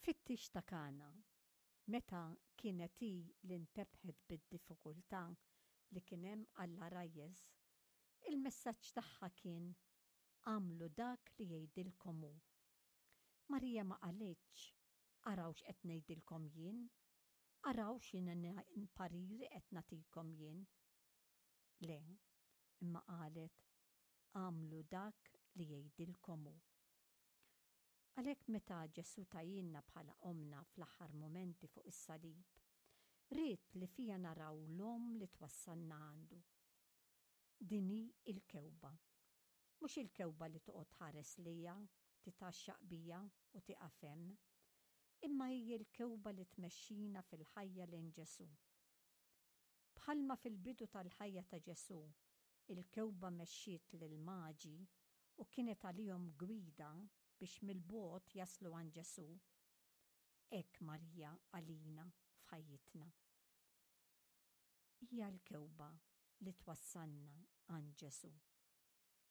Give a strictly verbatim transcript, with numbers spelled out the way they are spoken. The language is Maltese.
Fit-tieġ ta' Kana, meta kienet hi li ntebħet bid-diffikultà li kien hemm għall-għarajjes, il-messaġġ tagħha kien agħmlu dak li jgħidilkom hu. Marija ma qalitx araw x'qed ngħidilkom jien, araw x'inhi pariri qed nagħtikom jien. Le, imma qalet agħmlu dak li jgħidilkom hu. Għalhekk meta Ġesù tahielna bħala ommna fl-aħħar mumenti fuq is-salib, ried li fiha naraw l-omm li twassalna għandu. Din hi il-kewba. Mhux il-kewba li toqgħod tħares lejha, titgħaxxaq bija u tieqaf hemm, imma hi l-kewba li tmexxina fil-ħajja lejn Ġesù. Bħalma fil-bidu tal-ħajja ta' Ġesù, il-kewba mexxiet lil-maġi u kienet għalihom gwida biex mill-bogħod jaslu għand Ġesù. Hekk Marija għalina f'ħajjitna. Hija l-kewba li twassalna għand Ġesù.